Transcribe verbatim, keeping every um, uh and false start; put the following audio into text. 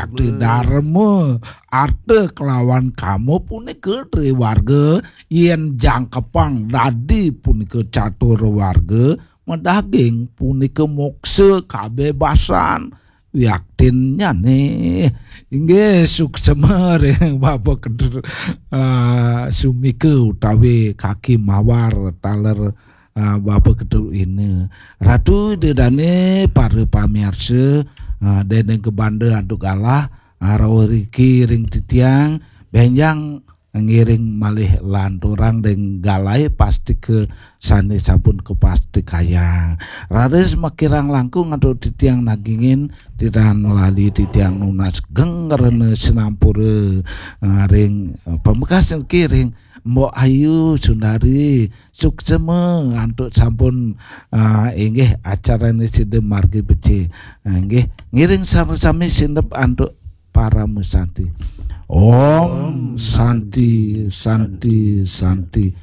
Sakti dharma, arta kelawan kama punika triwarga, yen jangkepang dadi punika catur warga, madaging punika moksa kabebasan wiaktinnyane. Inggih, suksema ring Bapa Kedu, ah, Sumika utawi Kaki Mawar taler, ah, Bapa Kedu Ina. Ratu Ida Dane, para pamiarsa, ah, dene kabanda antuk galah, ah, rauh riki ring titiang, benjang ngiring malih lanturang ring galah pastika sane sampun kapastikayang. Raris makirang langkung antuk titiang nagingin, titiang lali titiang nunas geng rena sinampura, ah, ring, ah, pamekas niki ring Mbok Ayu Sundari, suksema antuk sampun, ah, inggih acarane sida margi becik. Ah, inggih, ngiring sami-sami sineb antuk parama santi. Om Santi, Santi, Santi.